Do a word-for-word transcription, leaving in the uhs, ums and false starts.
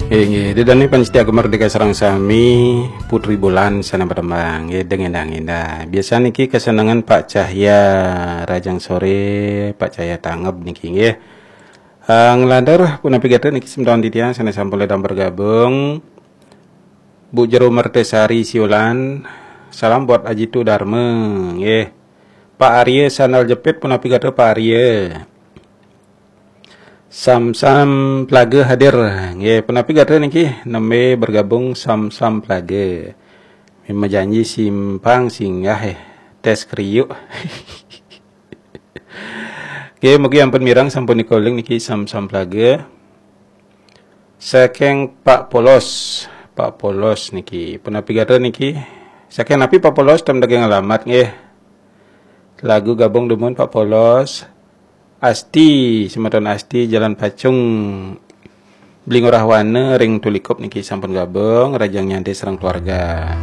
Inggih, ida dané pamiarsa Gema Merdeka sareng sami, Putri Bulan sané pademang, nggih, deng endah-endah. Biasa niki kesenengan Pak Cahya, rahajeng soré, Pak Cahya tanggep niki, nggih. Eh, nglantur punapi gatra niki semeton titiang sané sampun ledang bergabung. Bu Jero Mertesari Siulan, salam buat Aji Tu Darma, nggih. Pak Arya Sandal Jepit, punapi gatra Pak Arya? Sam-sam Plaga hadir. Nggih, punapi gatra niki, nembé bergabung Sam-sam Plaga. Mimah janji simpang singgah, eh. Tes kriuk. Nggih, mugi ampun mireng sampun nika uling niki Sam-sam Plaga. Saking Pak Polos. Pak Polos niki. Punapi gatra niki? Saking napi Pak Polos, ten daging alamat nggih. Lagu gabung dumun Pak Polos. Asti, semeton Asti, Jalan Pacung, Beli Ngurah Wana, ring Tulikup niki sampun gabung, rahajeng nyantai sareng keluarga.